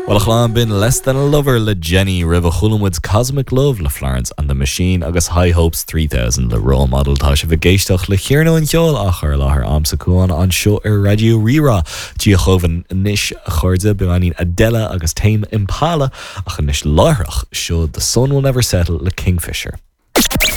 Bhuel a chlann, b'in Less Than A Lover le Jenny, roimhe chuala muid Cosmic Love le Florence and the Machine agus High Hopes 3000 le Role Model. Tá sibh ag éisteacht le Cearnóg an Cheoil á chur i láthair a'msa Cuán anseo ar Raidió Rí-Rá. Dia chugaibh anois a chairde, beagáinín Adele agus Tame Impala ach anois láithreach, seo The Sun Will Never Settle le Kingfisher.